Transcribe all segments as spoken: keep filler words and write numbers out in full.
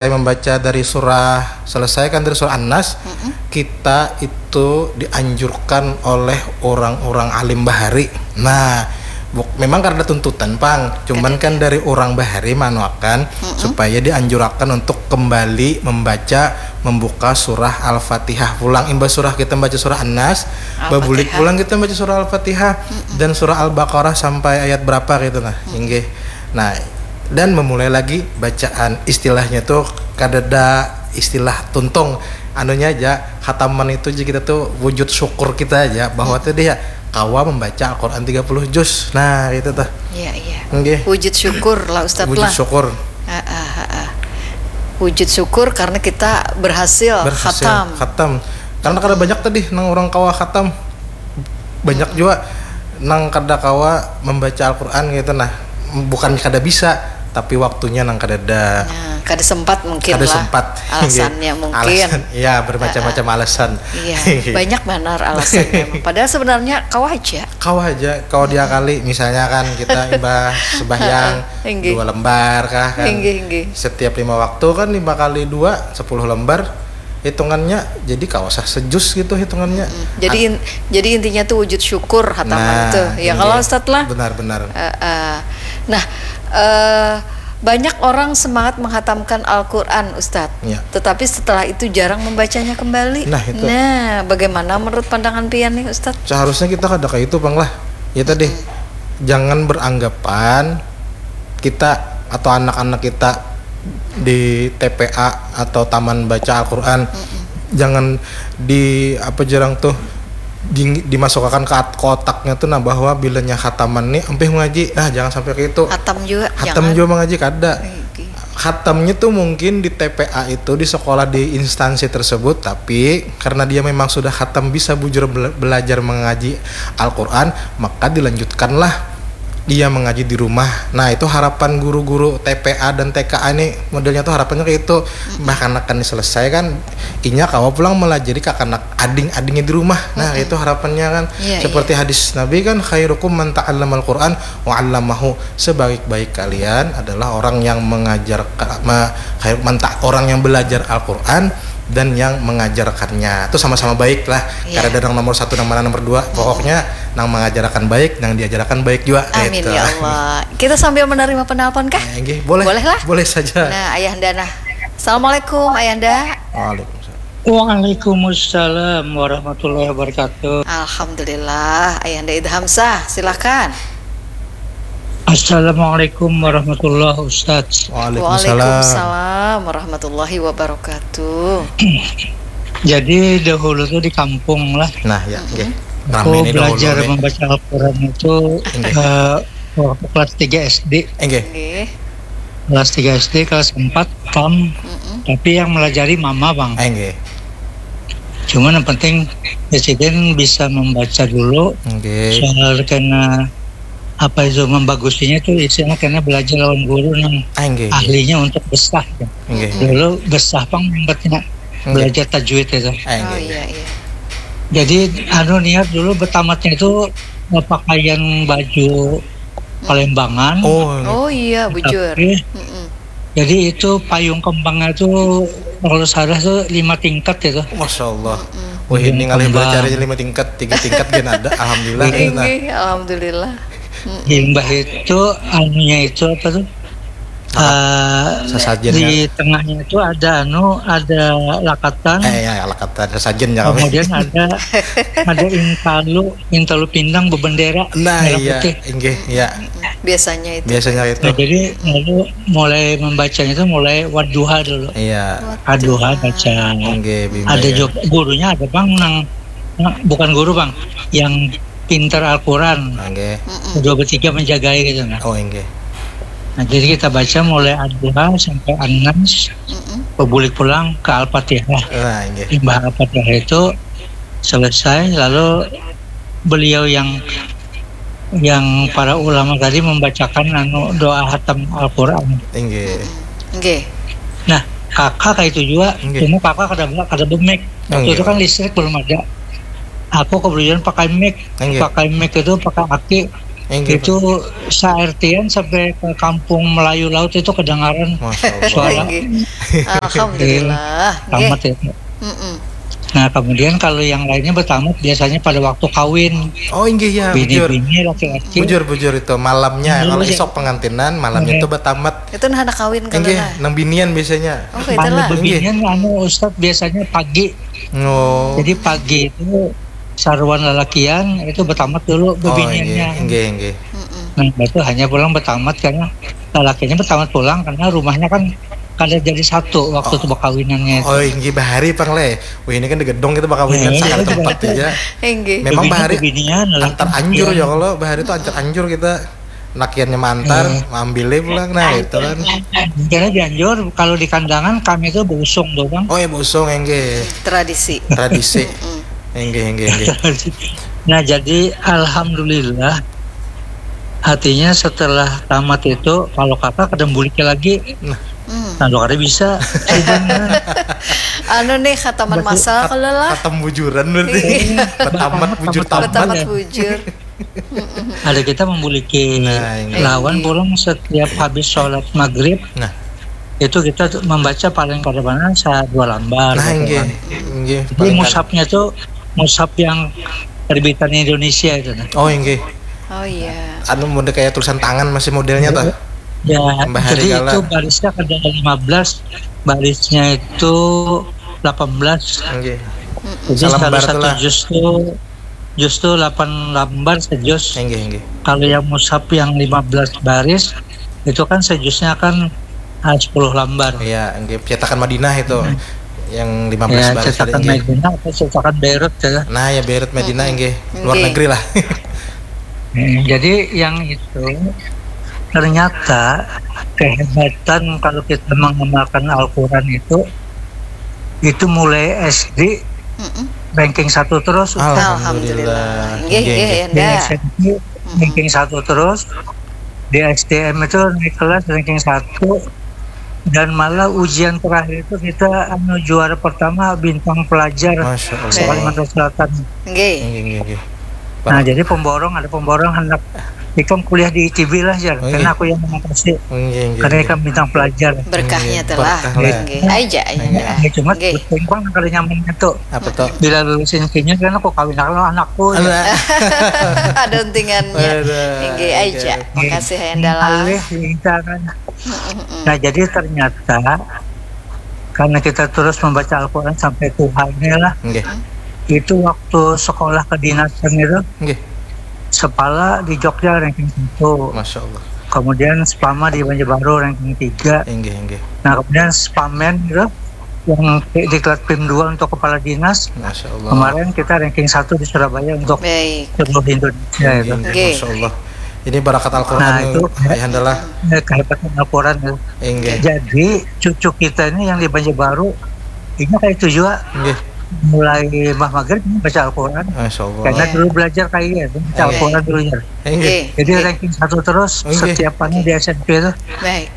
membaca dari surah, selesai kan dari surah An-Nas, kita itu dianjurkan oleh orang-orang alim bahari. Nah, buk-, memang karena tuntutan pang, cuman kan dari orang bahari manuakan supaya dianjurakan untuk kembali membaca, membuka surah Al-Fatihah pulang. Imbah surah kita baca surah An-Nas, babulik pulang kita baca surah Al-Fatihah dan surah Al-Baqarah sampai ayat berapa gitu nah. Inggih. Nah, dan memulai lagi bacaan, istilahnya tuh kadada istilah tuntung, anunya aja, khataman itu aja kita tuh wujud syukur kita aja bahwa tadi ya kawa membaca Al-Quran tiga puluh juz. Nah, itu tuh. Iya, iya. Nggih. Wujud syukur lah, Ustadz, wujud lah. Syukur. Heeh, heeh. Wujud syukur karena kita berhasil, berhasil khatam. Khatam. Karena kada banyak tadi nang orang kawa khatam. Banyak juga nang kada kawa membaca Al-Quran gitu nah. Bukan kada bisa, tapi waktunya nang kadada. Nah, kada sempat mungkin. Kada lah sempat. Alasannya mungkin. Alasan, ya, bermacam-macam alasan. Iya, banyak banar alasannya. Padahal sebenarnya kawa aja. Kawa aja, kawa diakali. Misalnya kan kita imbah sembahyang dua lembar kah kan. Inggih, inggih. Setiap lima waktu kan lima kali dua, sepuluh lembar. Hitungannya jadi kawa sah sejuz gitu hitungannya. Mm-mm. Jadi in-, jadi intinya tuh wujud syukur khataman tuh. Nah, ya, kalau Ustadz lah. Benar-benar. Eh, eh. Nah, eh, banyak orang semangat menghatamkan Al-Quran, Ustadz. Ya. Tetapi setelah itu jarang membacanya kembali. Nah, itu. Nah, bagaimana menurut pandangan pian nih, Ustadz? Seharusnya kita kada kayak itu, Bang, lah. Ya tadi, jangan beranggapan kita atau anak-anak kita di T P A atau taman baca Al-Quran, jangan di, apa jarang tuh, di, dimasukkan ke at-, ke otaknya tuh nah, bahwa bilanya khataman nih ampih mengaji. Nah, jangan sampai kayak itu. Khatam juga, khatam jangan. Juga mengaji kada. Oke. Khatamnya tuh mungkin di T P A itu, di sekolah, di instansi tersebut, tapi karena dia memang sudah khatam, bisa bujur bela-, belajar mengaji Al-Quran, maka dilanjutkanlah dia mengaji di rumah. Nah, itu harapan guru-guru T P A dan T K A ini, modelnya tuh harapannya kayak itu. Bahkan akan diselesaikan, inya kawa pulang melajari kakanak ading-adingnya di rumah. Nah, itu harapannya kan. Iya, seperti hadis Nabi kan, "Khairukum man ta'allamal Quran wa 'allamahu." Sebaik-baik kalian adalah orang yang mengajar, ma-, khair-, man ta-, orang yang belajar Al-Quran dan yang mengajarkannya. Itu sama-sama baik lah. Iya. Kada ada nang nomor satu, nang mana nomor dua. Pokoknya nang mengajarakan baik, nang diajarakan baik juga. Amin, gitu. Ya Allah. Kita sambil menerima penelpon kah? Eh, nggih, boleh. Boleh lah. Boleh saja. Nah, Ayahanda, nah. Assalamualaikum, Ayahanda. Waalaikumsalam. Waalaikumsalam warahmatullahi wabarakatuh. Alhamdulillah, Ayahanda Ida Hamzah, silakan. Assalamualaikum warahmatullahi, Ustadz. Waalaikumsalam. Waalaikumsalam warahmatullahi wabarakatuh. Jadi dahulu tuh di kampung lah. Nah, ya, nggih. Aku belajar membaca Al-Quran itu, eh, waktu kelas tiga S D. Nggih. Nggih. Kelas tiga S D, kelas empat, tam. Tapi yang melajari mama, Bang. Eh, nggih. Cuma yang penting presiden bisa membaca dulu. Nggih. Soal kena apa itu, membagusinya itu istilahnya kena belajar lawan guru nang, ah, nggih, nggih, ahlinya untuk besah. Nggih. Dulu besah pang nyambatnya. Nggih. Belajar tajwid itu. Ah, nggih, nggih. Oh, iya, iya. Jadi, anu, niat dulu bertamatnya itu, eh, pakaian baju Palembangan. Oh, iya. Oh, iya, bujur. Tapi, mm-mm, jadi itu payung kembangnya tuh kalau salah tuh lima tingkat itu. Masya Allah. Mm-mm. Wah, ini ngalih belajarnya lima tingkat, tiga tingkat kan ada. Alhamdulillah. Inggih, alhamdulillah. Mm-mm. Imbah itu anunya itu apa tuh? Ah, sasajennya. Di tengahnya itu ada anu, ada lakatan. Eh, ya, lakatan, sasajennya. Kemudian ada, ada intalu, intalu pindang bebendera merah putih. Nah, iya, inggih, iya. Biasanya itu. Biasanya itu. Nah, jadi lalu mulai membacanya itu mulai wadduha dulu. Iya. Wadduha baca. Inggih, bimbingan. Ada juga gurunya, ada bang nang, nah, bukan guru, bang, yang pintar Al-Quran. Nggih. Mm-mm. Dua bertiga menjagai gitu, nah. Oh, nggih. Nah, jadi kita baca mulai Ad-Duha sampai An-Nas, mm-mm, bebulik pulang ke Al-Fatihah. Nah, nggih. Imbah Al-Fatihah itu selesai, lalu beliau yang, yang para ulama tadi membacakan anu doa hatam Al-Quran. Nggih. Mm-mm. Nggih. Nah, kakak kayak itu juga, nggih, cuma kakak kada, kada bemik. Waktu, nggih, itu kan listrik belum ada. Aku kebetulan pakai mic. Nggih. Pakai mic itu pakai aki. Inggih, itu sa-R T-an sampai ke kampung Melayu Laut itu kedengaran Masya Allah. Suara. Inggih. Alhamdulillah. Nggih. Tamat itu. Mm-mm. Nah, kemudian kalau yang lainnya bertamat biasanya pada waktu kawin. Oh, inggih ya, bujur. Bini-bini, laki-laki. Bujur, bujur itu. Malamnya, Iya, kalau iya. Isok pengantinan, malamnya Iya. itu bertamat. Itu nah anak kawin kalau Inggih, lah. Nang binian biasanya. Oh, itu Anu lah. Inggih. bebinian, anu Ustadz, biasanya pagi. Oh. Jadi pagi itu saruan lalakian itu bertamat dulu Oh, inggih, bebiniannya. Inggih, inggih. Mm-mm. Nah, itu hanya pulang bertamat karena lalakiannya bertamat pulang karena rumahnya kan kada jadi satu waktu itu berkawinannya itu. Oh, inggih, bahari pang leh. Wih, ini kan di gedong kita berkawinan Iya, sakali iya, tempat iya. aja. Inggih. Memang Bebinian, bahari bebinian, lalakian antar anjur bebinian. Ya kalau bahari itu ancar anjur kita. Lakiannya mantar, Iya. Ambilnya pulang, nah itu kan. Karena dianjur kalau di kandangan kami itu berusung tuh bang. Oh ya, berusung, inggih. Tradisi. Tradisi. Mm. Inggih, inggih, inggih. Nah, jadi alhamdulillah, artinya setelah tamat itu kalau kakak kada buliknya lagi, Mm. nah lo kada bisa. Sudah. Anu nih khataman Betul. masal kalau lah. Khatam bujuran berarti. Iya. Bertamat bujur tamat. Bertamat bujur. Ada kita memiliki Nah, ini. lawan pulang setiap habis sholat maghrib Nah, itu kita tuh membaca paling kada mana sa dua lambar. nah, Gitu inggih, kan. Inggih. Jadi Paling kan- mushafnya tuh mushaf yang terbitan Indonesia itu nah. Oh, inggih. Oh iya. Anu, model kayak tulisan tangan masih modelnya tuh. Ya, Tambah hari jadi gala. Itu barisnya kada lima belas, barisnya itu delapan belas. Inggih. Jadi Salambar kalau tuh satu lah. Juz tuh, juz tuh delapan lambar sejuz. Inggih, inggih. Kalau yang mushaf yang lima belas baris itu kan sejuznya kan ah, sepuluh lambar. Iya, inggih, cetakan Madinah itu. Hmm. Yang lima belas Ya, baris cetakan tadi, inggih. Madinah atau cetakan Beirut ya. Nah, ya Beirut Madinah, Mm-mm. Inggih. Luar Inggih. Negeri lah. Hmm, jadi yang itu ternyata kehebatan kalau kita mengamalkan Al-Quran itu itu mulai S D Mm-mm. Ranking satu terus. Alhamdulillah. Inggih, inggih, Inggih, Yanda. Di S M P ranking satu terus. Di S D M itu naik kelas ranking satu. Dan malah ujian terakhir itu kita anu juara pertama bintang pelajar Masya Allah. Kalimantan Selatan. Inggih. Inggih, inggih, inggih. Nah, jadi pemborong, ada pemborong hendak ikam kuliah di I T B lah, Jar. Oh, iya. Karena aku yang mengatasi. Inggih, inggih, Karena inggih. ikam bintang pelajar. Berkahnya Iya, telah. berkah lah. Inggih. Aja, aja. Iya. Ya, cuma Inggih. berkembang kalau nyamannya tuh. Apa tuh? Bila lulus intinya kan aku kawin sama anakku. Ya. Anak. Ada untingannya. Ada. Inggih aja. Iya. Makasih Yanda lah. Alih, kita kan. Mm-mm. Nah, jadi ternyata karena kita terus membaca Al-Quran sampai tuha inilah, Inggih. itu waktu sekolah kedinasan itu Inggih. sepala di Jogja ranking satu, Masya Allah. Kemudian Spama di Banjarbaru ranking tiga. Inggih, inggih. Nah, kemudian Spamen gitu yang di Klatpim dua untuk kepala dinas, Masya Allah. Kemarin kita ranking satu di Surabaya untuk Baik. Seluruh Indonesia itu. Inggih, Inggih. Masya Allah. Ini barakat Al-Quran Nah, nih, itu Ayahanda lah. Ya, kehebatan Al-Quran ya. Inggih. Jadi cucu kita ini yang di Banjarbaru ini kayak itu juga Inggih. Mulai Mbah Maghrib ini baca Al-Quran. Masya Allah. Karena Iya. Dulu belajar kayak iya, baca Iya. Al-Quran dulu ya. Inggih. Oke. Jadi ranking satu terus Inggih. Setiap hari di S M P itu. Baik.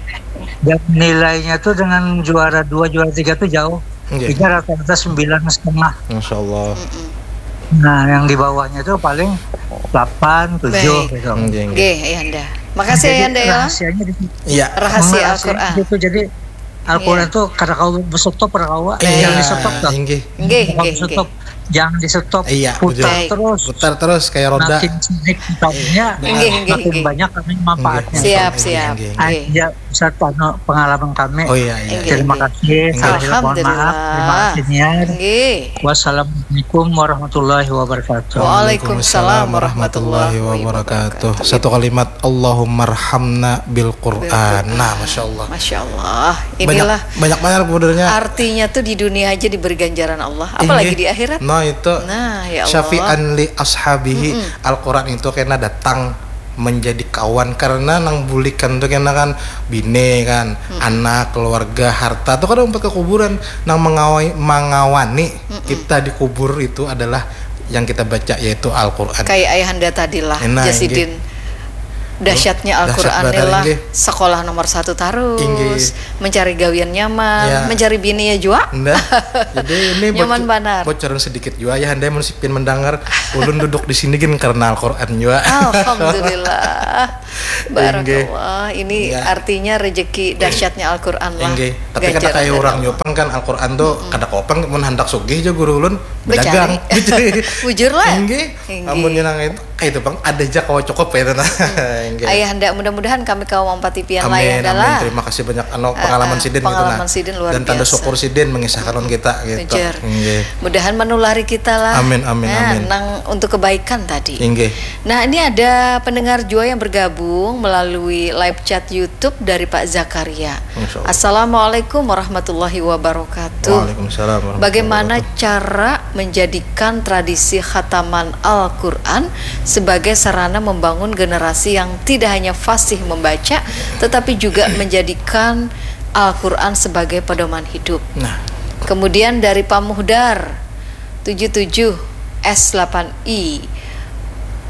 Dan nilainya tuh dengan juara dua, juara tiga tuh jauh. Inggih. Ini rata-rata sembilan setengah. Masya Allah. Mm-mm. Nah, yang di bawahnya tuh paling delapan, tujuh Baik. gitu. Inggih, inggih. Oke, Ayahanda. Makasih Jadi, Ayahanda ya. Rahasianya di situ. Iya. Rahasia Rahasianya Al-Quran. Gitu. Jadi Al-Quran Iya. Tuh kada kawa berstop, kada kawa. Iya, Jangan di-stop tuh. Inggih. Inggih, Jangan inggih, di-stop. Inggih. Jangan di-stop. Iya, Putar betul. Terus. Putar terus kayak roda. Makin sini putarnya. Inggih, inggih, Makin inggih. Banyak kami manfaatnya. Siap, siap. Inggih, Ah, inggih. Ya, Ustaz, anu, pengalaman kami. Oh iya, iya. Inggih. Terima kasih. Inggih. Saya mohon maaf. Terima Alhamdulillah. Kasih niat. Inggih. Wassalamualaikum warahmatullahi wabarakatuh. Waalaikumsalam warahmatullahi wabarakatuh. Satu kalimat, Allahummarhamna bil Quran. Nah, Masya Allah. Masya Allah. Banyak, Inilah banyak banget sebenarnya. Artinya tuh di dunia aja diberi ganjaran Allah, apalagi Inggih. Di akhirat. Nah, itu. Nah, ya Allah. Syafi'an li ashabihi. Mm-mm. Al-Quran itu kena datang menjadi kawan karena nang bulikan tuh kena kan bine kan, anak, keluarga, harta tuh kada umpat ke kuburan. Nang mengawai, mengawani kita di kubur itu adalah yang kita baca, yaitu Al-Quran. Kayak ayahanda tadi lah, Nah, Jasidin. Dahsyatnya Al-Quran ni lah, sekolah nomor satu tarus, mencari gawian nyaman, mencari bini ya jua. Nah, jadi ini nyaman banar. Bocoran sedikit jua ya, handai mun si Pian mendangar, ulun duduk di sini gin karena Al-Quran jua. Alhamdulillah. Barakallah. Ini artinya rezeki dahsyatnya Al-Quran lah. Tapi kada kayak orang jua pang kan, Al-Quran tu kada kawa pang mun handak sugih ja guru ulun bedagang. Bujur lah. Inggih. Amunnya nang itu kayak itu pang ada ja kawa cukup kayak itu nah. Inggih. Ayahanda, mudah-mudahan kami kawa mampati pian lah, Ayahanda lah. Amin, amin. Terima kasih banyak anu pengalaman sidin gitu nah. Pengalaman sidin luar biasa. Dan tanda syukur sidin mengisahkan lawan kita gitu. Inggih. Mudahan manulari kita lah. Amin, amin, amin. Nang untuk kebaikan tadi. Inggih. Nah, ini ada pendengar jua yang bergabung melalui live chat YouTube dari Pak Zakaria. Masya Allah. Assalamualaikum warahmatullahi wabarakatuh. Waalaikumsalam warahmatullahi wabarakatuh. Bagaimana cara menjadikan tradisi khataman Al-Quran sebagai sarana membangun generasi yang tidak hanya fasih membaca, tetapi juga menjadikan Al-Quran sebagai pedoman hidup? Nah. Kemudian dari Pak Muhdar, tujuh tujuh S delapan I.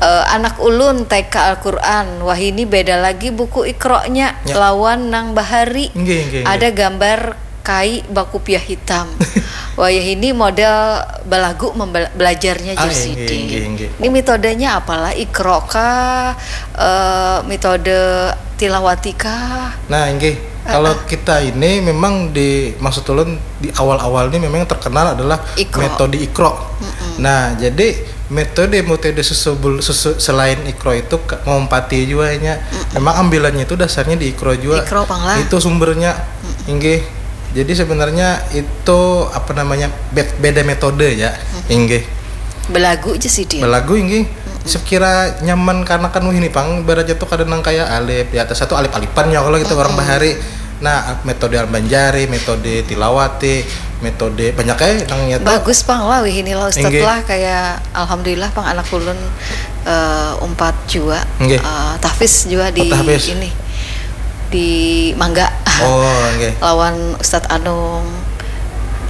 Eh, anak ulun T K Al-Quran, wahini beda lagi buku Iqra-nya lawan nang bahari. Inggih, inggih, inggih. Ada gambar kai bakupiah hitam. Wayahini model balagu membel-, belajarnya, jar sidin. Ah, inggih, inggih, inggih. Ini metodenya apalah, Iqra kah? Eh, metode tilawati kah? Nah, inggih. Kalau kita ini memang di, maksud ulun di awal-awal ini memang yang terkenal adalah Iqra. Metode Iqra. Mm-mm. Nah, jadi metode-metode sesubul-, sesu-, selain Iqra itu ke-, ngompati jua nya. Mm-mm. Memang ambilannya itu dasarnya di Iqra jua. Iqra pang lah. Itu sumbernya. Mm-mm. Inggih. Jadi sebenarnya itu apa namanya, be-, beda metode ya. Mm-mm. Inggih. Belagu aja sih dia. Belagu, inggih. Mm-mm. Sekira nyaman karena kan wahini pang, ibaratnya tuh kada nang kayak alif di atas satu, alif-alipan ya kalau kita orang bahari. Nah, metode Al-Banjari, metode Tilawati, metode banyak ya nang nyata. Bagus pang lah wahini lah Ustadz. Inggih. Lah, kayak alhamdulillah pang anak ulun, eh, umpat jua. Inggih. Eh, tahfiz jua di ini. Di Mangga. Oh, inggih. Lawan Ustadz Anung,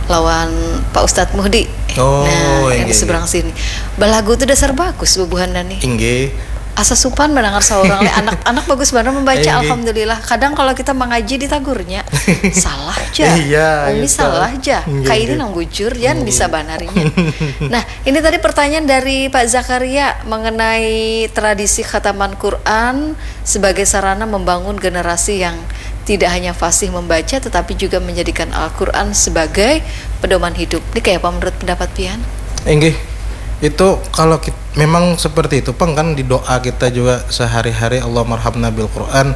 lawan Pak Ustadz Muhdi. Oh, nah, yang di seberang sini. Balagu tuh dasar bagus bubuhan nih. Inggih. Asa supan mendengar seorang leh. Anak-anak bagus banget membaca, alhamdulillah. Kadang kalau kita mengaji ditagurnya, salah aja. Iya, Umi gitu. Salah aja. Inggih, kayak ini nang bujur, Jan bisa banarinya. Nah, ini tadi pertanyaan dari Pak Zakaria mengenai tradisi khataman Quran sebagai sarana membangun generasi yang tidak hanya fasih membaca, tetapi juga menjadikan Al-Quran sebagai pedoman hidup. Ini kayak apa menurut pendapat pian? Inggih, itu kalau kit-, memang seperti itu pang kan di doa kita juga sehari-hari, Allahummarhamna bil Quran,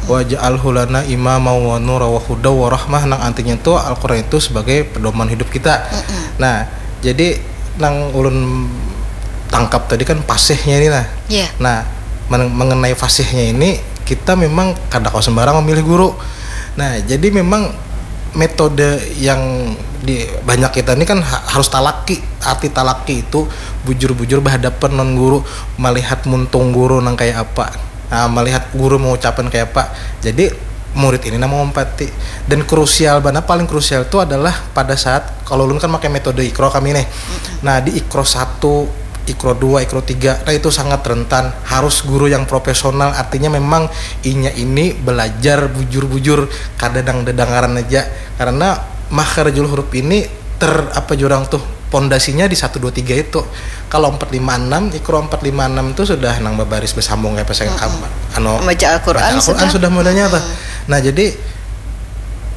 waj'alhu lana imama wa nura wa huda wa rahmah, nang artinya itu Al-Quran itu sebagai pedoman hidup kita. Mm-mm. Nah, jadi nang ulun tangkap tadi kan fasihnya ini nah. Iya. Nah, men-, mengenai fasihnya ini, kita memang kada kawa sembarang memilih guru. Nah, jadi memang metode yang di banyak kita ini kan ha-, harus talaki. Arti talaki itu bujur-bujur berhadapan lawan guru, melihat muntung guru nang kayak apa. Nah, melihat guru mengucapkan kayak apa. Jadi murid ini nang mengompati. Dan krusial banar, paling krusial itu adalah pada saat, kalau ulun kan pakai metode Iqra kami nih. Mm-mm. Nah, di Iqra satu, Iqra dua, Iqra tiga, nah itu sangat rentan. Harus guru yang profesional, artinya memang inya ini belajar bujur-bujur, kada nang dedengaran aja. Karena makharijul huruf ini ter-, apa jurang tuh, pondasinya di satu dua tiga itu. Kalau empat lima enam, Iqra empat lima enam tuh sudah nang babaris bersambung kayak pesan kamu. Anu, baca Al-Quran sudah modalnya tuh. Mm-mm. Nah, jadi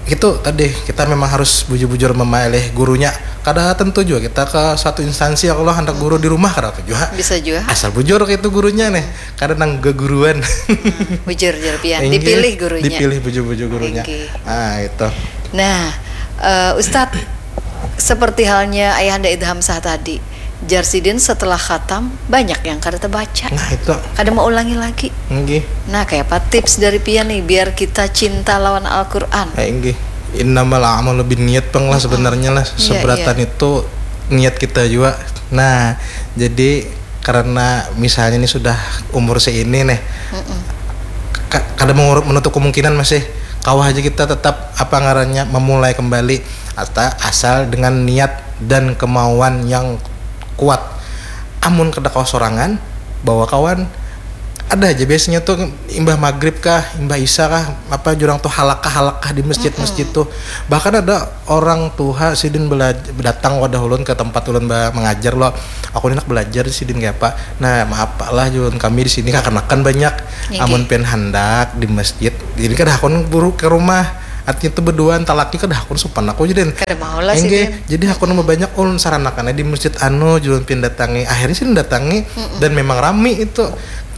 itu tadi kita memang harus bujur-bujur memilih gurunya. Kada tentu juga kita ke satu instansi, ya Allah, hendak guru di rumah, kada apa juga. Bisa juga. Asal bujur kayak itu gurunya nih. Kada nang geguruan. Hmm, bujur, jar pian. Inggih, dipilih gurunya. Dipilih bujur-bujur gurunya. Inggih. Ah, itu. Nah, eh, Ustadz, seperti halnya Ayahanda Idham Sah tadi, jar sidin setelah khatam, banyak yang kada terbaca. Nah, itu. Kada mau ulangi lagi. Inggih. Nah, kayak apa tips dari pian nih, biar kita cinta lawan Al-Quran? Eh, inggih. Innamal a'malu binniyat pang lah sebenarnya lah. Iya, seberatan iya. Itu niat kita juga. Nah, jadi karena misalnya ini sudah umur seini nih, mm-mm, ka-, kada mengurut menutup kemungkinan masih kawa aja kita tetap apa ngarannya memulai kembali, ata-, asal dengan niat dan kemauan yang kuat. Amun kada kawa sorangan, bawa kawan. Ada aja biasanya tuh imbah maghrib kah, imbah isya kah, apa jurang tuh halakah-halakah di masjid-masjid tuh. Bahkan ada orang tuha sidin bela- datang wadah ulun ke tempat ulun ba- mengajar lo. Aku ni handak belajar di sidin kayak apa. Nah, maaf Pak lah, ulun kami di sini kakanakan banyak. Nggih. Amun pian handak di masjid, jadi kada hakun buru ke rumah. Artinya tuh berduaan talaki kada hakun supan aku jadi. Kada mau lah Enggak, sidin. Jadi hakun banyak ulun saranakannya di masjid anu, ulun pian datangi. Akhirnya sidin datangi dan memang rami itu.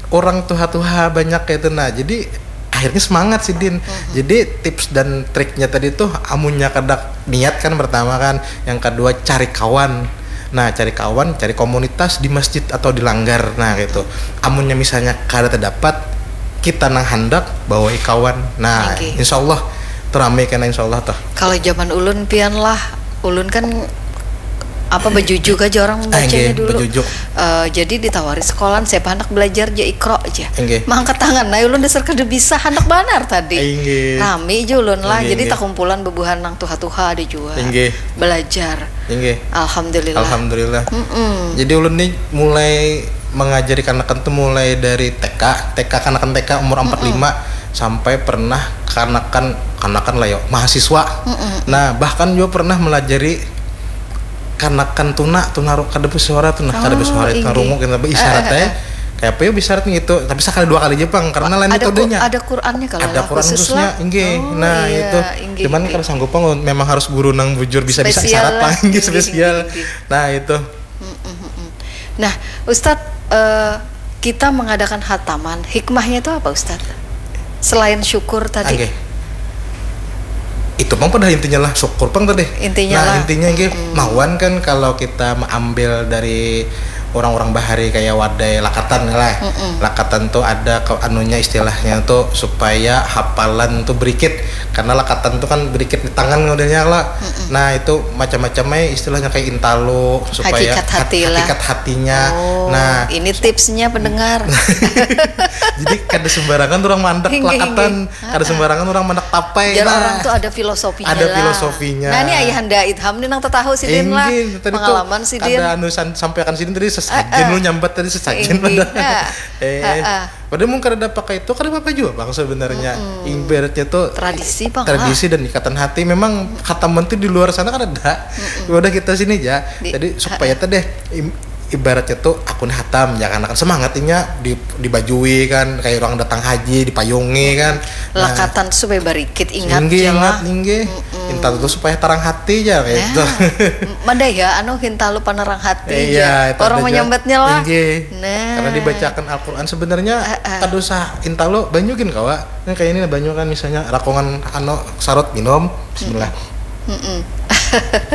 Orang tuha-tuha banyak kayak itu. Nah, jadi akhirnya semangat sidin. Jadi tips dan triknya tadi tuh amunnya kada niat kan pertama kan, yang kedua cari kawan. Nah, cari kawan, cari komunitas di masjid atau di langgar. Nah, gitu. Amunnya misalnya kada terdapat, kita nang handak bawa kawan. Nah, Oke. Insya Allah tuh rame kena insya Allah tuh. Kalau zaman ulun pian lah, ulun kan apa bejujuk aja orang Ah, bacanya nggih, dulu. Bejujuk. Eh, jadi ditawari sekolahan siapa hendak belajar aja ikro aja. Nggih. Mangkat tangan, nah ulun dasar kada bisa hendak banar tadi. Nggih. Rami aja ulun lah, Nggih, jadi nggih. Takumpulan bebuhan nang tuha-tuha ada juga. Nggih. Belajar. Nggih. Alhamdulillah. Alhamdulillah. Mm-mm. Jadi ulun nih mulai mengajari kanakan tuh mulai dari T K, T K kanakan T K umur empat lima sampai pernah kanakan kanakan lah yo mahasiswa. Nah, bahkan juga pernah melajari kanakan tuna, tuna ru- kada bersuara tuh, nah, kada Oh, bersuara itu inggih. Rungu kita isyarat Eh, eh, ya. Kayak apa ya isyarat gitu, tapi sekali dua kali aja pang karena lain Ada ku- metodenya. ada Qurannya kalau Ada lah, Quran khusus khususnya, lah. Inggih. Oh, Nah, iya, itu. inggih, Cuman inggih. Kalau sanggup pang memang harus guru nang bujur bisa bisa Spesial isyarat lah, pang, inggih, inggih, spesial. inggih, inggih. Nah, itu. Mm-mm, mm-mm. Nah, Ustadz, eh, kita mengadakan hataman, hikmahnya itu apa, Ustadz? Selain syukur tadi. Oke. Itu pang pada intinya lah syukur pang tadi. Intinya Nah, lah. Intinya nggih mawan kan kalau kita mengambil dari orang-orang bahari kayak wadai lakatan lah. Lakatan tuh ada ke anunya istilahnya tuh supaya hafalan tuh berikit karena lakatan tuh kan berikit di tangan modelnya lah. Nah, itu macam-macam aja istilahnya kayak intalu supaya Hakikat hati lah. Hakikat hatinya. Oh, Nah, ini tipsnya pendengar. Jadi kada sembarangan orang mandek Inggih, lakatan, inggih. kada sembarangan orang mandek tapai. Biar Nah. Orang tuh ada filosofinya Ada lah. Filosofinya. Nah, ini ayahanda Idham nih nang tatahu sidin lah. Inggih, tadi tuh Pengalaman sidin. Ada anu san- sampaikan sidin tadi sesajen Ah, ah. Lu nyambat tadi sesajen Inggih, pada. ah. Eh, Ah, ah. Padahal mungkin ada pakai itu kada apa juga bang sebenarnya. Ibaratnya tuh Tradisi, Bang, tradisi dan ikatan hati. Memang kataman tuh di luar sana kan ada. Udah kita sini aja. Di- Jadi supaya teh deh im- ibaratnya tuh aku nih hatam ya kan akan semangatnya di dibajui kan kayak orang datang haji dipayungi kan. Nah, Lakatan supaya barikit, ingat Inggih, je ingat lah. Inggih. Intalu tuh supaya tarang hati aja kayak itu. Nah, mada ya anu hintalu panarang hati Iya, aja. itu Orang ada menyambatnya lah. Inggih. Nah. Karena dibacakan Al-Quran sebenarnya Ah, ah. kada usah intalu banyu gin kawa. Kan kayak ini banyu kan misalnya rakongan anu sarut minum. Bismillah. Mm-mm.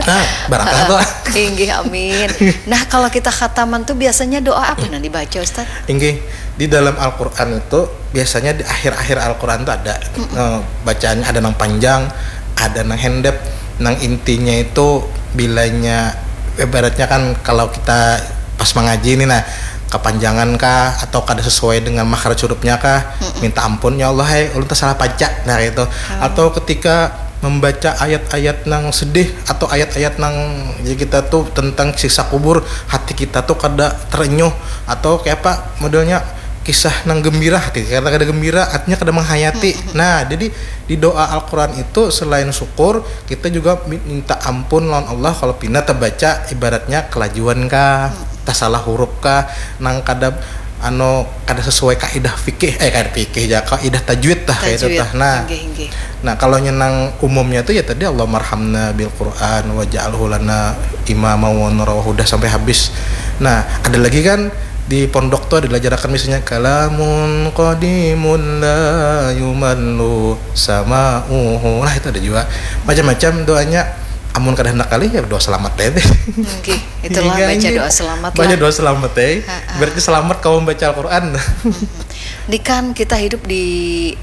Nah, barakah tuh. Inggih, amin. Nah, kalau kita khataman tuh biasanya doa apa yang dibaca, Ustaz? Inggih, di dalam Al-Quran itu biasanya di akhir-akhir Al-Quran tuh ada eh, bacaannya ada nang panjang, ada nang handap. Nang intinya itu bilanya ibaratnya kan kalau kita pas mengaji ini nah kepanjangan kah atau kada sesuai dengan makhraj hurufnya kah, minta ampun ya Allah hai ulun tersalah baca nah itu. Atau ketika membaca ayat-ayat nang sedih atau ayat-ayat nang ya kita tuh tentang siksa kubur, hati kita tuh kada terenyuh atau kayak apa modelnya kisah nang gembira hati kita kada gembira artinya kada menghayati. Nah, jadi di doa Al-Quran itu selain syukur kita juga mi- minta ampun lawan Allah kalau pina terbaca ibaratnya kelajuan kah, tersalah huruf kah, nang kada anu kada sesuai kaidah fikih eh kada fikih ya kaidah tajwid tah kayak itu Tajwid. Tah. Nah, Inggih, inggih. Nah, kalau nyenang umumnya tuh ya tadi Allahummarhamna bil Quran waj'alhu lana imama wa nura wa huda sampai habis. Nah, ada lagi kan di pondok tuh ada diajarakan misalnya kalamun qadimun la yumallu sama'uhu. Nah, itu ada juga macam-macam doanya. Amun kada hendak kali ya doa selamat deh. Oke, itulah Iya, baca iya. Doa selamat Baca lah. Doa selamat deh. Ha-ha. Berarti selamat kau membaca Al-Quran. Ini kan kita hidup di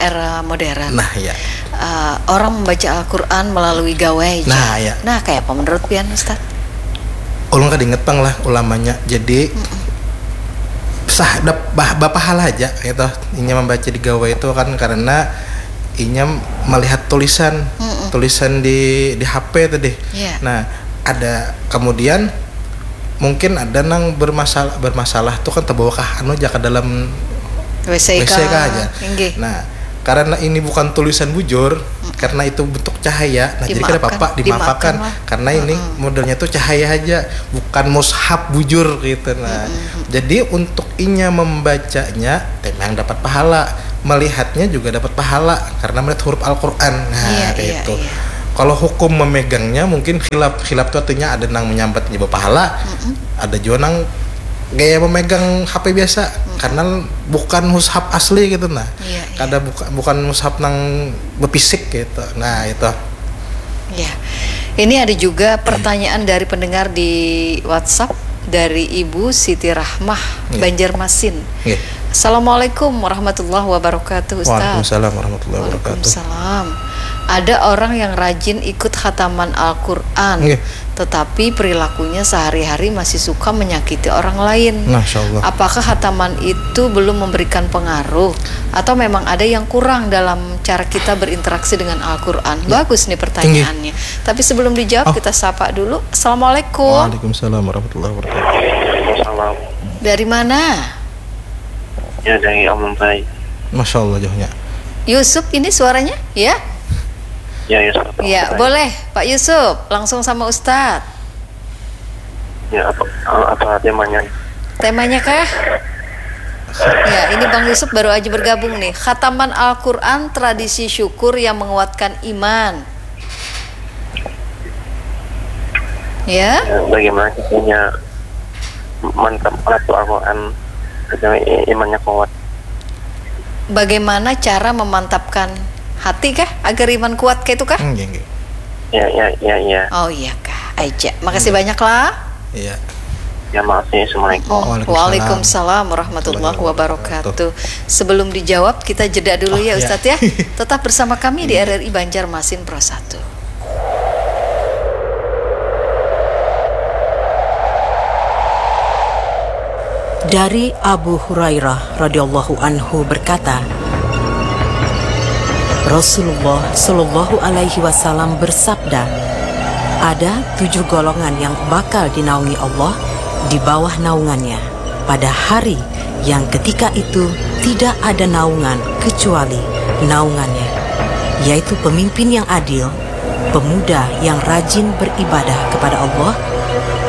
era modern. Nah, iya. Eh, orang membaca Al-Quran melalui gawai. Nah, iya. Nah, kayak apa menurut pian, Ustaz? Ulun kada inget pang lah ulamanya. Jadi sah dap, bah, bapa hal aja gitu. Inya membaca di gawai itu kan karena inya melihat tulisan, tulisan di di H P tadi. Iya. Nah, ada kemudian mungkin ada nang bermasalah bermasalah tuh kan terbawa kah anu aja ke dalam WC kah aja. Nah, karena ini bukan tulisan bujur, karena itu bentuk cahaya, nah, jadi kada apa-apa, dimaafkan lah. Karena ini modelnya tuh cahaya aja, bukan mushaf bujur gitu. Nah, jadi untuk inya membacanya, memang dapat pahala, melihatnya juga dapat pahala karena melihat huruf Al-Quran. Nah, kayak gitu. Kalau hukum memegangnya mungkin khilaf, khilaf tuh artinya ada nang menyambat jadi pahala, ada juga nang gaya memegang H P biasa, karena bukan mushaf asli gitu. Nah, kada buka, bukan mushaf nang befisik gitu. Nah, itu. Ya. Ini ada juga pertanyaan dari pendengar di WhatsApp dari Ibu Siti Rahmah, Banjarmasin. Assalamualaikum warahmatullahi wabarakatuh, Ustaz. Waalaikumsalam warahmatullahi wabarakatuh. Waalaikumsalam. Ada orang yang rajin ikut khataman Al-Quran, tetapi perilakunya sehari-hari masih suka menyakiti orang lain. Masya Allah. Apakah khataman itu belum memberikan pengaruh, atau memang ada yang kurang dalam cara kita berinteraksi dengan Al-Quran? Bagus nih pertanyaannya. Tapi sebelum dijawab, kita sapa dulu. Assalamualaikum. Waalaikumsalam warahmatullahi wabarakatuh. Waalaikumsalam. Dari mana? Ya, dari Amumbai. Masya Allah, jauhnya. Yusuf, ini suaranya, ya? Ya, Yusuf. Ya, boleh, Pak Yusuf, langsung sama Ustadz. Ya, apa, apa temanya? Temanya kah? Ya, ini Bang Yusuf baru aja bergabung nih. Khataman Al-Quran, tradisi syukur yang menguatkan iman. Ya. Ya, bagaimana caranya mantap melaku Al-Quran agar i- imannya kuat? Bagaimana cara memantapkan hati kah agar iman kuat kayak itu kah? Hmm, nggih, nggih. Ya, ya, ya, ya. Oh iya kah, aja. Makasih banyak lah. Iya. Ya, makasih. Assalamualaikum. Oh, Waalaikumsalam warahmatullahi wabarakatuh. Sebelum dijawab, kita jeda dulu ya, Ustadz ya. Tetap bersama kami di R R I Banjarmasin Pro satu. Dari Abu Hurairah radhiyallahu anhu berkata, Rasulullah shallallahu alaihi wasallam bersabda, ada tujuh golongan yang bakal dinaungi Allah di bawah naungannya pada hari yang ketika itu tidak ada naungan kecuali naungannya, yaitu pemimpin yang adil, pemuda yang rajin beribadah kepada Allah,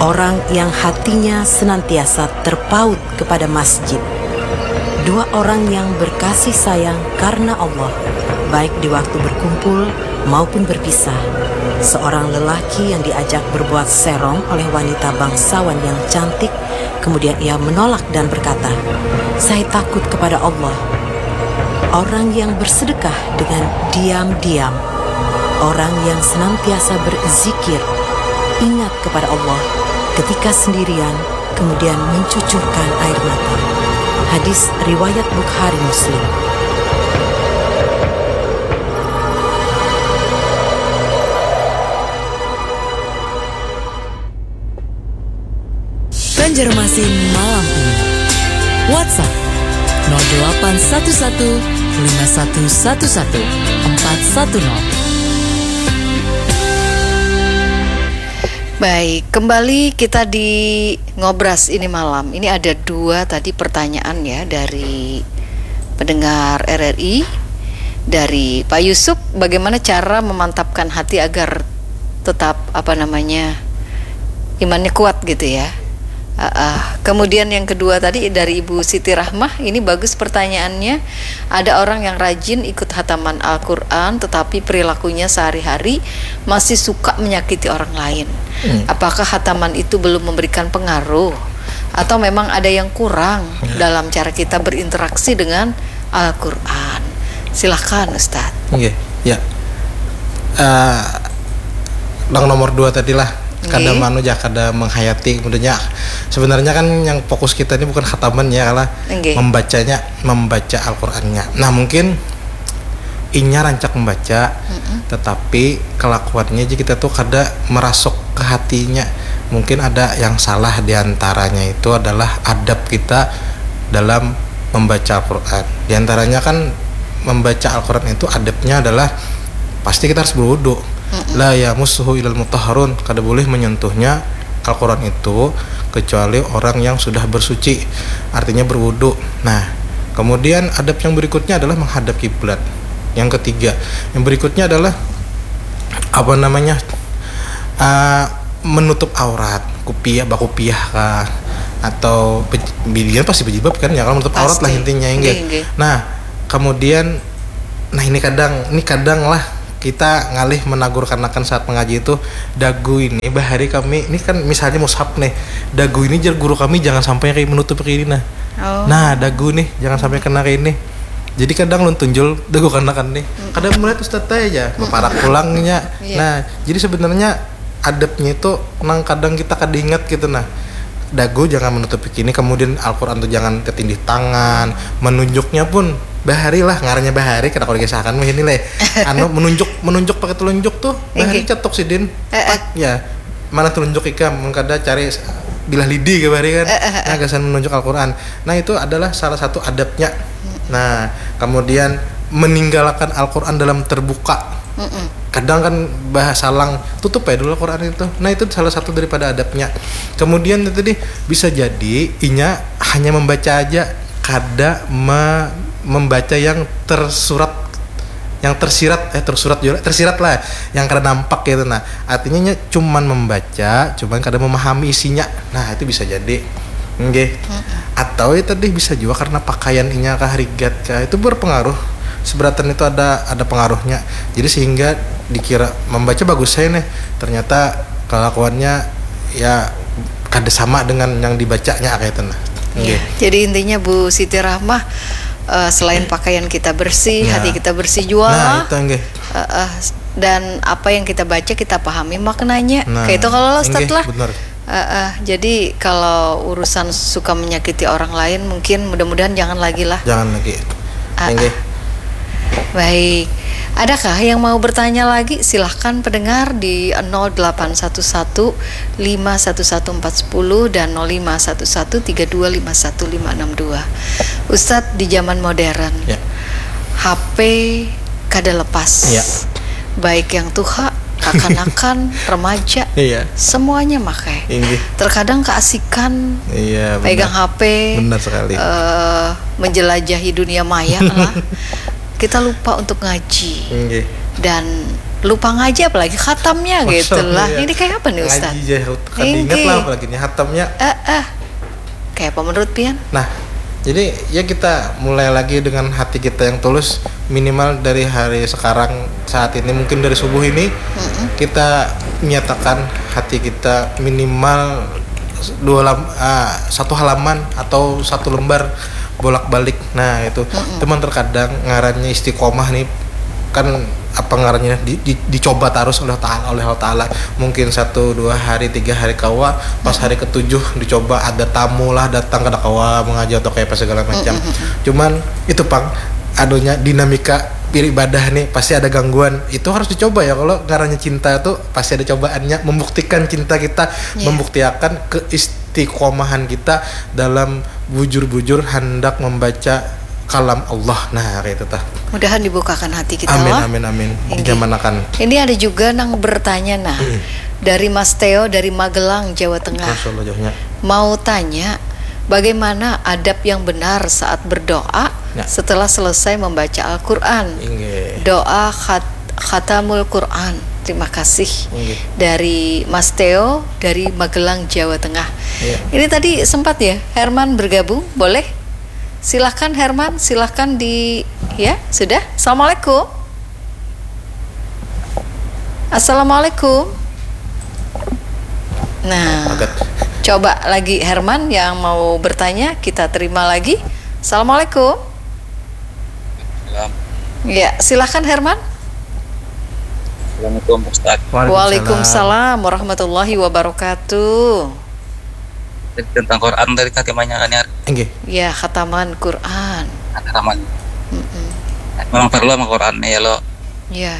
orang yang hatinya senantiasa terpaut kepada masjid, dua orang yang berkasih sayang karena Allah, baik di waktu berkumpul maupun berpisah, seorang lelaki yang diajak berbuat serong oleh wanita bangsawan yang cantik, kemudian ia menolak dan berkata, saya takut kepada Allah. Orang yang bersedekah dengan diam-diam, orang yang senantiasa berzikir, ingat kepada Allah ketika sendirian, kemudian mencucurkan air mata. Hadis riwayat Bukhari Muslim. Banjarmasin malam ini. WhatsApp nol delapan satu satu lima satu satu satu empat satu nol. Baik, kembali kita di Ngobras ini malam. Ini ada dua tadi pertanyaan ya dari pendengar R R I, dari Pak Yusuf, bagaimana cara memantapkan hati agar tetap, apa namanya, imannya kuat gitu ya. Ah, ah. Kemudian yang kedua tadi dari Ibu Siti Rahmah, ini bagus pertanyaannya. Ada orang yang rajin ikut hataman Al-Quran, tetapi perilakunya sehari-hari masih suka menyakiti orang lain. Apakah hataman itu belum memberikan pengaruh, atau memang ada yang kurang dalam cara kita berinteraksi dengan Al-Quran? Silahkan, Ustadz. Nggih, ya. Eh, nang nomor dua tadi lah, kada manu ja, kada menghayati. Kemudiannya, sebenarnya kan yang fokus kita ini bukan khataman ya, kalah Nggih. Membacanya, membaca Al-Qurannya. Nah, mungkin inya rancak membaca, tetapi kelakuannya aja kita tuh kada merasuk ke hatinya. Mungkin ada yang salah, diantaranya itu adalah adab kita dalam membaca Al-Quran. Diantaranya kan membaca Al-Quran itu adabnya adalah pasti kita harus berwudu. La yamassuhu illal mutahharun, kada boleh menyentuhnya Al-Quran itu kecuali orang yang sudah bersuci, artinya berwudu. Nah, Kemudian adab yang berikutnya adalah menghadap kiblat. Yang ketiga, yang berikutnya adalah apa namanya? Uh, menutup aurat, kupiah, bakupiah kah, atau bej- biar pasti berjilbab kan ya, kalau menutup aurat lah Pasti. Intinya, inggih. Inggih, inggih. Nah, kemudian, nah, ini kadang, ini kadang lah kita ngalih menagur kanakan saat mengaji itu, dagu ini bahari kami, ini kan misalnya mushaf nih, dagu ini, jar guru kami, jangan sampai kayak menutup kayak ini, nah. Oh. Nah, dagu nih jangan sampai kena kayak ini. Jadi kadang lun tunjul dagu kanakan nih. Kadang melihat ustadz aja, berparak pulangnya. Iya. Nah, jadi sebenarnya adabnya itu nang kadang kita kada ingat gitu, nah. Dagu jangan menutupi kini, kemudian Al-Quran tuh jangan ketindih tangan, menunjuknya pun bahari lah, ngarannya bahari, kada kalau kisahkan mah ini leh. Anu, menunjuk, menunjuk pakai telunjuk tuh bahari. Inggih. Cetuk sidin. Eh, eh. Ya, mana telunjuk ikam, mun kada cari bilah lidi ke bahari kan. Eh, eh, eh. Nah, gasan menunjuk Al-Quran. Nah, itu adalah salah satu adabnya. Nah, kemudian meninggalkan Al-Quran dalam terbuka. Mm-mm. Kadang kan bahasa lang, tutup ya dulu Al-Quran itu. Nah, itu salah satu daripada adabnya. Kemudian itu tadi bisa jadi inya hanya membaca aja, kada me- membaca yang tersurat, yang tersirat, eh, tersurat juga, tersirat lah, yang kada nampak gitu. Nah, artinya nya cuman membaca, cuman kada memahami isinya. Nah, itu bisa jadi. Nggih. Atau ya tadi bisa juga karena pakaian inya kah, rigat kah, itu berpengaruh. Seberatan itu ada, ada pengaruhnya. Jadi sehingga dikira membaca bagus saya nih, ternyata kelakuannya ya kada sama dengan yang dibacanya kayak itu, nah. Nggih. Ya, jadi intinya Bu Siti Rahmah, eh, selain pakaian kita bersih, Ya. Hati kita bersih juga. Nah, itu nggih. Eh, eh, dan apa yang kita baca kita pahami maknanya. Nah, Kayak itu kalau lah, Ustadz nggih, lah. Benar. Eh, eh, jadi kalau urusan suka menyakiti orang lain, mungkin mudah-mudahan jangan lagi lah. Jangan lagi. Ah, Nggih. Baik. Adakah yang mau bertanya lagi? Silahkan pendengar di nol delapan satu satu lima satu satu empat sepuluh dan nol lima satu satu tiga dua lima satu lima enam dua. Ustadz, di zaman modern, Ya. H P kada lepas. Ya. Baik yang tuha, kakanakan, remaja, Iya. Semuanya makai. Inggih. Terkadang keasikan Iya, benar. Pegang H P, Benar sekali. Eh, menjelajahi dunia maya lah. Kita lupa untuk ngaji. Nggih. Dan lupa ngaji, apalagi khatamnya gitu Masya Allah, lah. ya. Ini kayak apa nih, Ustaz? Ngaji aja kada ingat Inggih. Lah, apalagi ini khatamnya. Eh, eh. Kayak apa menurut pian? Nah, jadi ya kita mulai lagi dengan hati kita yang tulus, minimal dari hari sekarang, saat ini, mungkin dari subuh ini, kita nyatakan hati kita minimal dua lam- ah, satu halaman atau satu lembar bolak-balik. Nah, itu teman, terkadang ngarannya istiqomah nih, kan apa ngarannya, di, di- dicoba terus oleh taala, oleh Allah Taala. Mungkin satu dua hari, tiga hari kawa, pas hari ketujuh dicoba, ada tamu lah datang, kada kawa mengaji atau kayak apa segala macam. Cuman itu pang, anunya, dinamika beribadah nih pasti ada gangguan. Itu harus dicoba ya, kalau ngarannya cinta tuh pasti ada cobaannya, membuktikan cinta kita, Iya. membuktiakan keistiqomahan kita dalam bujur-bujur hendak membaca kalam Allah. Nah, kayak itu tah. Mudahan dibukakan hati kita Amin, lah. Amin, amin. Inggih. Dijamanakan. Ini ada juga nang bertanya, nah, dari Mas Teo dari Magelang, Jawa Tengah. Masya Allah, jauhnya. Mau tanya, bagaimana adab yang benar saat berdoa Ya. setelah selesai membaca Al-Quran? Inggih. Doa khat- khatamul Quran. Terima kasih. Inggih. Dari Mas Teo dari Magelang, Jawa Tengah. Iya. Ini tadi sempat ya Herman bergabung, boleh? Silahkan Herman, silahkan di, ya, sudah. Assalamualaikum. Assalamualaikum. Nah, Pagat. Coba lagi Herman yang mau bertanya, kita terima lagi. Assalamualaikum. Salam. Ya, silahkan Herman. Assalamualaikum Ustaz. Waalaikumsalam warahmatullahi wabarakatuh. Tentang Quran tadi kah temanya kan ya? Inggih. Ya, khataman Quran. Hataman. Mm-mm. Memang perlu sama Quran nih ya lo. Ya.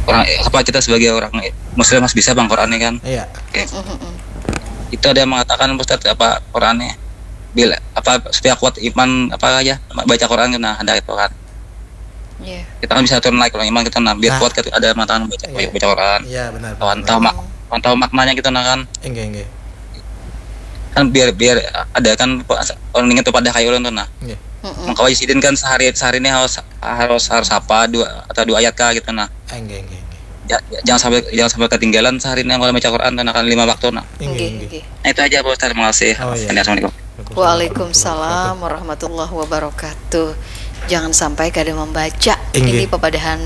Orang apa kita sebagai orang Muslim harus bisa bang Quran nih kan? Iya. Oke. Mm-mm. Itu ada yang mengatakan Ustaz apa Quran nih bila apa supaya kuat iman apa aja baca Quran kan, nah ada itu kan. Ya. Kita kan bisa turun naik kalau iman kita, nah biar Nah. Kuat kan ada mengatakan baca Iya. baca Quran. Iya, benar. Lawan tahu mak lawan tahu maknanya kita nah kan. Inggih, inggih. Kan biar, biar ada kan, pa-, orang ingat tu pada kayu ulun tu nah. Nggih. Mm-mm. Maka wajah sidin kan sehari, sehari ini harus, harus, harus apa dua atau dua ayat kah gitu nah. Ah, nggih, nggih, nggih. Ya, ya, jangan sampai, jangan sampai ketinggalan sehari ini kalau baca Quran tuh nah, kan lima waktu nah. Nggih, Nggih, nggih. nggih. Nah, itu aja Pak Ustaz, terima kasih. Oh, iya. Assalamualaikum. Waalaikumsalam warahmatullahi wabarakatuh. Jangan sampai kada membaca. Inggih. Ini papadahan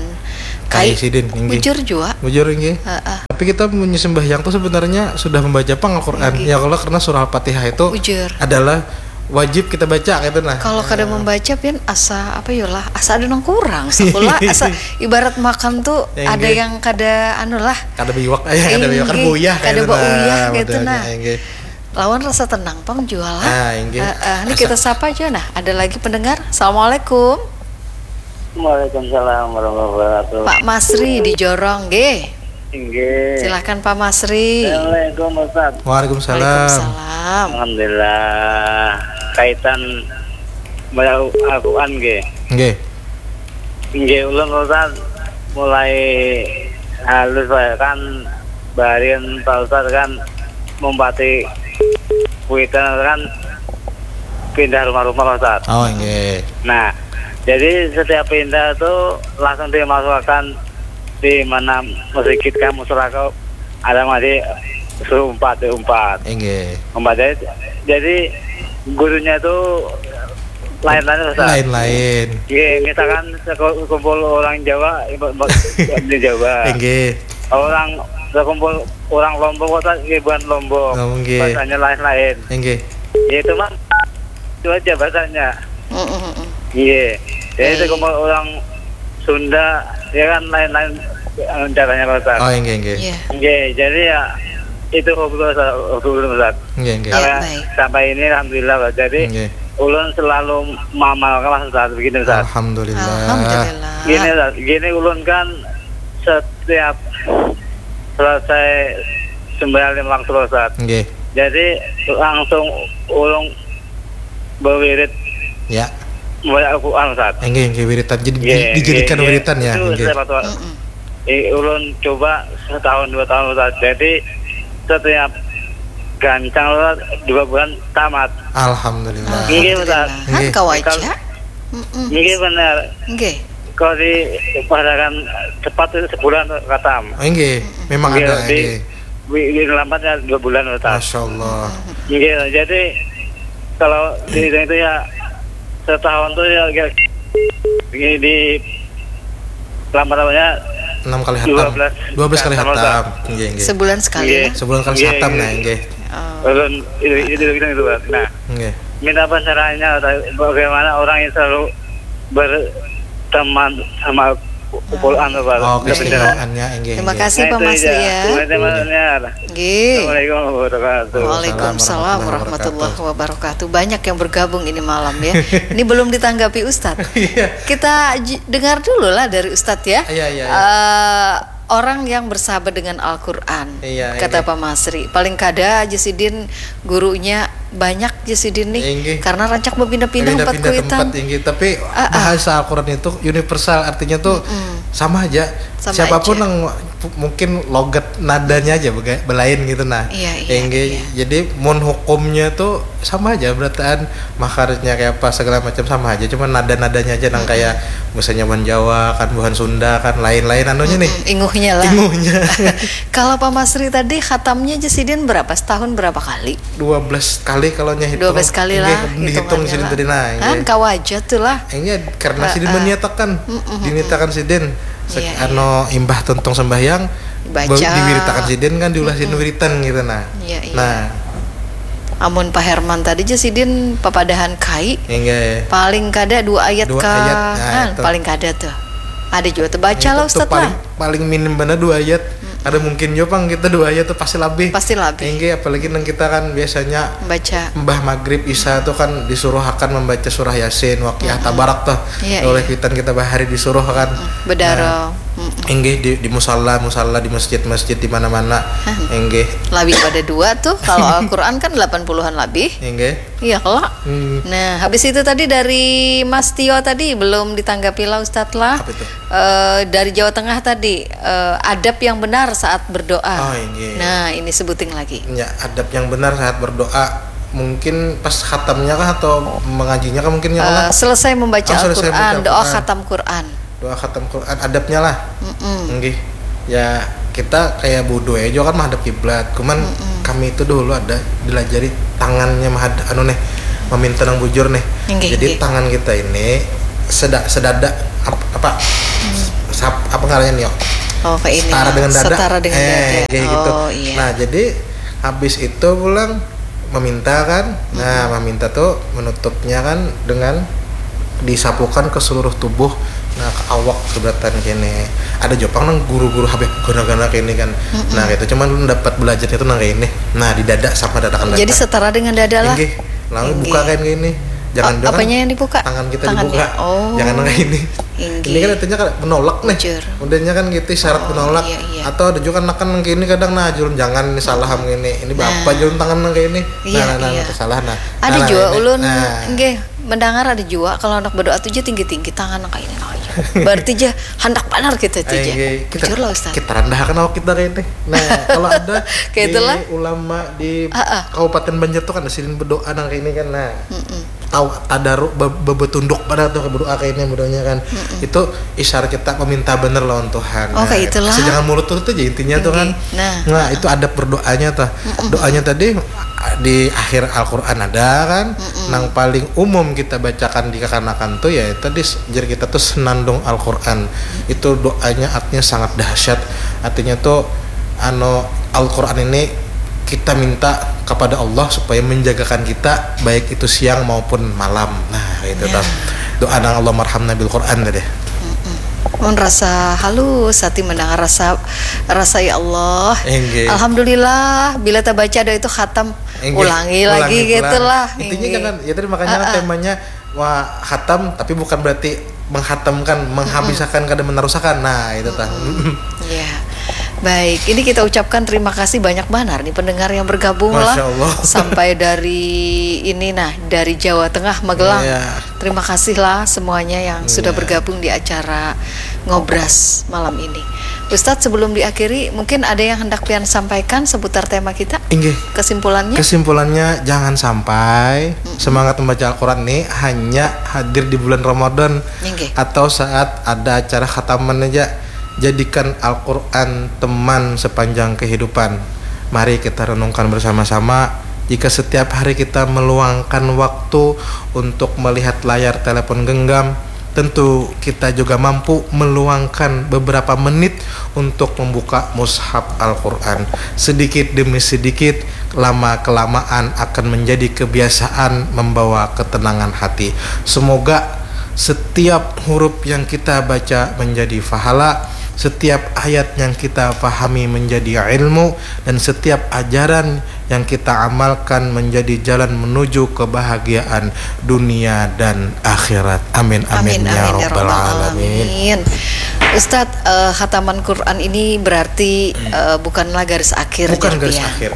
Kai kai. sidin, inggih. Bujur jua. Bujur, nggih. Heeh. Tapi kita punya sembahyang tuh sebenarnya sudah membaca pang Al-Quran. Inggih. Ya kalau karena surah Al-Fatihah itu Bujur. adalah wajib kita baca gitu nah. Kalau kada membaca pian asa apa yo lah, asa ada nang kurang. Sakula asa ibarat makan tuh Inggih. Ada yang kada anu lah. Kada biwak, eh, kada biwak, kada Inggih, buyah kada gitu bauyah nah, gitu modelnya, nah. Inggih. Lawan rasa tenang pang jua lah. Ah, inggih. Heeh, ini Asa- kita sapa aja nah. Ada lagi pendengar. Assalamualaikum. Waalaikumsalam warahmatullahi wabarakatuh. Pak Masri di Jorong, nggih. Inggih. Silahkan Pak Masri. Assalamualaikum Ustaz. Waalaikumsalam. Waalaikumsalam. Alhamdulillah. Kaitan baca Al-Quran nggih. Nggih. Nggih ulun Ustaz mulai halus lah kan barin Pak Ustaz kan mempati kuitan kan pindah rumah-rumah Pak Ustaz. Oh, nggih. Nah, jadi setiap pindah tuh langsung dimasukkan di mana masjid kan musola kau ada masih suruh umpat diumpat Nggih. umpat jadi, jadi gurunya tuh lain-lain Ustaz. Lain-lain. Nggih, misalkan sekumpul orang Jawa, di Jawa. Nggih. Orang sekumpul orang Lombok kota ribuan Lombok. Oh, nggih. Bahasanya lain-lain. Nggih. Ya itu mah itu aja bahasanya. Mm-mm-mm. Iya. Jadi Baik. sekumpul orang Sunda ya kan lain-lain eh, caranya Pak Ustaz. Oh, nggih, nggih. Iya. Nggih, jadi ya itu hobi Ustaz, hobi Ustaz. Nggih, nggih. Ya, Sampai, baik. sampai ini alhamdulillah Pak. Jadi Nggih. ulun selalu mamalkan Ustaz begini Ustaz. Alhamdulillah. Alhamdulillah. Gini Ustaz, gini ulun kan setiap selesai sembahyang lima waktu Ustaz. Nggih. Jadi langsung ulun berwirid Ya. membaca Al-Quran Ustaz. Nggih, nggih wiritan. Jadi Nggih, dijadikan nggih, wiritan ya, itu nggih. Saya patuh. Mm-mm. Eh, ulun coba setahun dua tahun Ustaz. Jadi setiap gancang Ustaz dua bulan tamat. Alhamdulillah. Nggih, Ustaz. Alhamdulillah. Han Nggih. kawaja. Kalau- Mm-mm. Nggih benar. Nggih. Kalau dipadakan cepat itu sebulan khatam. Oh, nggih, memang Nggih, ada di, nggih. di, di lambat ya dua bulan Ustaz. Masya Allah. Nggih, jadi kalau dihitung itu ya setahun tuh ya kira ini di lambat namanya Enam kali Dua hatam. belas Dua belas kali hatam, hatam. Nggih, nggih. Sebulan sekali Nggih. lah. Sebulan kali Nggih, hatam nggih. Nah, nggih. Oh. ulun itu itu itu itu Pak. Nah, Nggih. minta pencerahannya Ustaz, bagaimana orang yang selalu berteman sama Quran Pak. Oh, Minta pencerahan. keistimewaannya nggih. Terima Nggih. kasih Pak Nah, itu Masri aja. ya. Terima kasih. Nggih. Assalamualaikum warahmatullahi wabarakatuh. Waalaikumsalam warahmatullahi wabarakatuh. Banyak yang bergabung ini malam ya. Ini belum ditanggapi Ustadz. Iya. Kita j- dengar dulu lah dari Ustadz ya. Iya, iya, iya. Eh, orang yang bersahabat dengan Al-Quran, Iya, kata iya. Pak Masri. Paling kada aja sidin gurunya banyak aja sidin nih. Inggih. Karena rancak berpindah-pindah empat Pindah-pindah kuitan. Tempat inggih, tapi Ah, ah. bahasa Al-Quran itu universal, artinya tuh Mm-mm. sama aja. Sama Siapapun aja. Yang pu- mungkin logat nadanya aja bega- belain gitu nah. Iya, iya, Inggih, iya. Jadi mun hukumnya tuh sama aja berataan, makarnya kayak apa segala macam sama aja, cuma nada-nadanya aja nang kayak misalnya buhan Jawa kan, buhan Sunda kan, lain-lain anunya nih. Mm-mm, inguhnya lah. Inguhnya. Kalau Pak Masri tadi khatamnya aja sidin berapa? Setahun berapa kali? Dua belas kali kalau nya hitung. Dua belas kali lah Inggih, dihitung hitungannya sidin lah. tadi nah. Kan Inggih. Kawaja tuh lah. Ini karena sidin Heeh. Meniatakan Mm-mm. Diniatakan sidin sek- Iya, iya. Anu imbah tuntung sembahyang Dibaca. be- diwiritakan sidin kan diulah sidin wiritan gitu nah. Iya, iya. Nah, Amun Pak Herman tadi aja sidin papadahan kai. Inggih. Paling kada dua ayat Dua ka ayat, nah, kan, itu. Paling kada tuh. Ada juga tuh baca Itu lah tuh Ustadz paling, lah. Paling minim bener dua ayat. Ada mungkin juga pang kita dua ayat tuh pasti lebih. Pasti lebih. Inggih, apalagi nang kita kan biasanya Baca. Mbah maghrib isya tuh kan disuruh akan membaca surah yasin, waqiah, tabarak tuh. Iya, Oleh iya. Kuitan kita bahari disuruh kan. Bedaro. Nah, Mm-mm. Inggih di, di musala, musala di masjid-masjid di mana-mana. Inggih. Lebih pada dua tuh. Kalau Al-Quran kan delapan puluhan lebih. Inggih. Iya kelak. Hmm. Nah, habis itu tadi dari Mas Tio tadi belum ditanggapi lah Ustadz lah. Apa itu? Eh, dari Jawa Tengah tadi, eh, adab yang benar saat berdoa. Oh, inggih. Nah, ini sebuting lagi. Ya, adab yang benar saat berdoa. Mungkin pas khatamnya kah atau mengajinya kah mungkin ya lah? Eh, selesai membaca Oh, selesai Al-Quran, membaca doa Al-Quran. Khatam Quran. Doa khatam Quran, adabnya lah. Mm-mm. Nggih. Ya, kita kayak bodoh aja kan menghadap kiblat. Cuman Mm-mm. kami itu dulu ada dilajari tangannya mahad anu nih, meminta nang bujur nih. Nggih, Jadi nggih. Tangan kita ini seda sedada ap- apa? Sap- apa ngarannya nih, yo? Oh, kayak ini. Setara dengan dada. Setara dengan Eh, dada. Kayak gitu. Oh, iya. Nah, jadi habis itu pulang meminta kan. Nah, meminta tuh menutupnya kan dengan disapukan ke seluruh tubuh. Nah, ke awak sebelah kene. Ada jua pang nang guru-guru habis guna-guna kayak ini kan. Nah, itu cuman dapat belajarnya tuh nang kayak ini. Nah, di dada sama dada kan. Jadi setara dengan dada lah. Inggih. Lalu Inggih. Buka kayak ini. Jangan Oh, jangan apanya yang dibuka? Tangan kita Tangannya. Dibuka. Oh. Jangan nang kayak ini. Inggih. Ini kan artinya kan menolak nih. Bujur. Udahnya kan gitu isyarat Oh, menolak. Iya, iya. Atau ada juga kan nang kayak ini kadang nah julun jangan nih salah ini. Ini bapak Nah. Julun tangan nang kayak ini. Iya, Nah, nah, nah, iya. Salah nah. Ada Nah, jua ini. Ulun Nah. Nggih mendengar ada jua kalau anak berdoa tuh tinggi-tinggi tangan kayak ini aja. Berarti aja hendak benar gitu aja. Inggih. Kita- Bujur lah, Ustaz. Kita rendahkan awak kita kayak ini. Nah, kalau ada Kayak itulah. Ulama di Ah, ah. Kabupaten Banjar tuh kan ada sidin berdoa nang kayak ini kan. Nah. Mm-mm. Tahu tadaruk be- be- betunduk pada tuh berdoa kayak ini berdoanya kan. Itu isyarat kita meminta bener lawan Tuhan. Oh, kayak itulah. Jangan mulut-mulut aja intinya tuh kan. Inggih. Nah. Nah, itu adab berdoanya tuh. Doanya tadi di akhir Al-Qur'an ada kan. Nang paling umum kita bacakan di kekanakan tuh ya tadi s- jar kita tuh senandung Al-Qur'an. Itu doanya artinya sangat dahsyat. Artinya tuh anu Al-Qur'an ini kita minta kepada Allah supaya menjagakan kita baik itu siang maupun malam. Nah, itu Ya. Tuh. Doa nang Allahummarhamna bil Qur'an tadi. Mun rasa halus hati mendengar rasa rasa ya Allah. Inggih. Alhamdulillah bila terbaca doa itu khatam Inggih. Ulangi lagi Ulangi gitu pulang. lah. Intinya Inggih. Jangan ya tadi makanya kan Ah, ah. Temanya wah khatam tapi bukan berarti menghatamkan, menghabiskan kada meneruskan. Nah, itu tah. Ya. Baik, ini kita ucapkan terima kasih banyak banar nih pendengar yang bergabung lah. Masya Allah. Sampai dari ini nah, dari Jawa Tengah Magelang. Iya. Terima kasih lah semuanya yang sudah Iya. Bergabung di acara Ngobras malam ini. Ustadz, sebelum diakhiri, mungkin ada yang hendak pian sampaikan seputar tema kita? Inggih. Kesimpulannya? Kesimpulannya jangan sampai semangat membaca Al-Quran nih hanya hadir di bulan Ramadan Inggih. Atau saat ada acara khataman aja. Jadikan Al-Quran teman sepanjang kehidupan. Mari kita renungkan bersama-sama. Jika setiap hari kita meluangkan waktu untuk melihat layar telepon genggam, tentu kita juga mampu meluangkan beberapa menit untuk membuka mushaf Al-Quran. Sedikit demi sedikit, lama-kelamaan akan menjadi kebiasaan membawa ketenangan hati. Semoga setiap huruf yang kita baca menjadi pahala, setiap ayat yang kita pahami menjadi ilmu, dan setiap ajaran yang kita amalkan menjadi jalan menuju kebahagiaan dunia dan akhirat. Amin, amin, Amin, ya amin, ya rabbal rabbal alamin. alamin. Ustadz, eh, khataman Quran ini berarti eh, bukanlah garis akhir, Bukan garis Jarpian. akhir.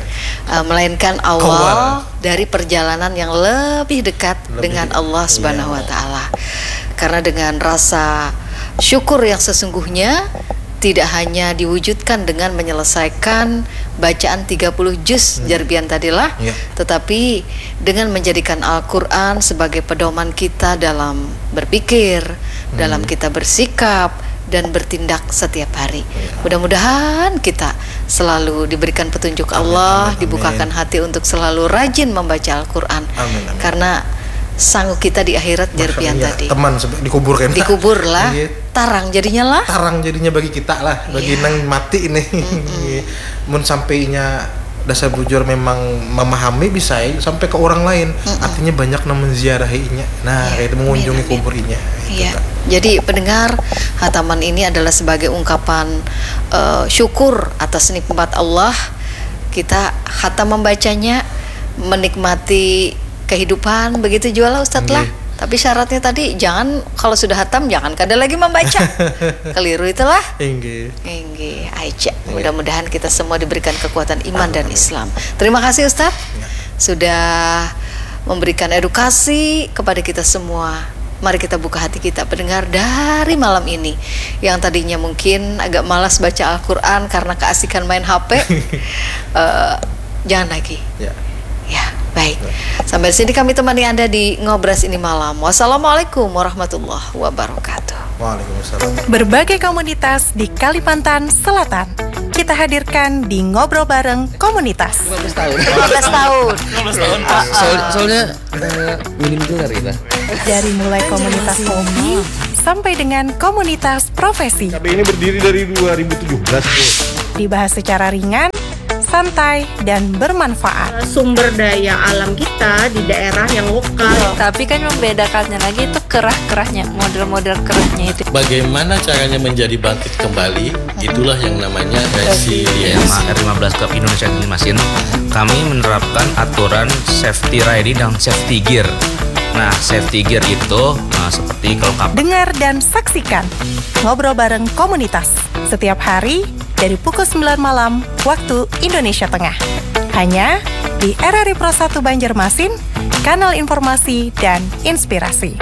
Eh, melainkan awal, Awal. Dari perjalanan yang lebih dekat Lebih dengan dekat. Allah Subhanahu Iya. Wa Taala. Karena dengan rasa syukur yang sesungguhnya tidak hanya diwujudkan dengan menyelesaikan bacaan tiga puluh juz Hmm. Jarpian tadilah, Iya. tetapi dengan menjadikan Al-Quran sebagai pedoman kita dalam berpikir, Hmm. dalam kita bersikap dan bertindak setiap hari. Iya. Mudah-mudahan kita selalu diberikan petunjuk Amin, Allah, amin, dibukakan amin. Hati untuk selalu rajin membaca Al-Quran. Amin, amin. Karena sangu kita di akhirat, Jarpian Iya, tadi. Teman sampai dikubur kan. Dikubur lah, Iya. Tarang jadinya lah. Tarang jadinya bagi kita lah, bagi Iya. Nang mati ini. Iya. Mun sampai inya dasar bujur memang memahami bisa ya, sampai ke orang lain. Artinya banyak nang menziarahi inya. Nah, Iya, itu mengunjungi amin, amin. Kubur inya. Itu, Iya. Kak. Jadi pendengar, hataman ini adalah sebagai ungkapan eh, syukur atas nikmat Allah. Kita hatam membacanya, menikmati kehidupan, begitu jua lah Ustadz lah. Nggih. Tapi syaratnya tadi jangan, kalau sudah hatam jangan kada lagi membaca. Keliru itulah. Inggih. Inggih, aja. Mudah-mudahan kita semua diberikan kekuatan iman dan Islam. Terima kasih Ustadz sudah memberikan edukasi kepada kita semua. Mari kita buka hati kita pendengar dari malam ini yang tadinya mungkin agak malas baca Al-Quran karena keasikan main H P. Eh, jangan lagi. Ya. Ya, Baik, sampai sini kami temani Anda di Ngobras ini malam. Wassalamualaikum warahmatullahi wabarakatuh. Waalaikumsalam. Berbagai komunitas di Kalimantan Selatan kita hadirkan di Ngobrol Bareng Komunitas. lima belas tahun. lima belas tahun. Soal- soalnya eh, minim gelar kita. Dari mulai komunitas hobi sampai dengan komunitas profesi. K B ini berdiri dari dua ribu tujuh belas, Bu. Dibahas secara ringan, santai, dan bermanfaat. Sumber daya alam kita di daerah yang lokal. Tapi kan membedakannya lagi itu kerah-kerahnya, model-model kerahnya itu. Bagaimana caranya menjadi bangkit kembali? Itulah yang namanya resilience. R lima belas Club Indonesia Banjarmasin, kami menerapkan aturan safety riding dan safety gear. Nah, safety gear itu nah, seperti kalau kap Dengar dan saksikan Ngobrol Bareng Komunitas setiap hari dari pukul sembilan malam waktu Indonesia Tengah. Hanya di R R I Pro satu Banjarmasin, kanal informasi dan inspirasi.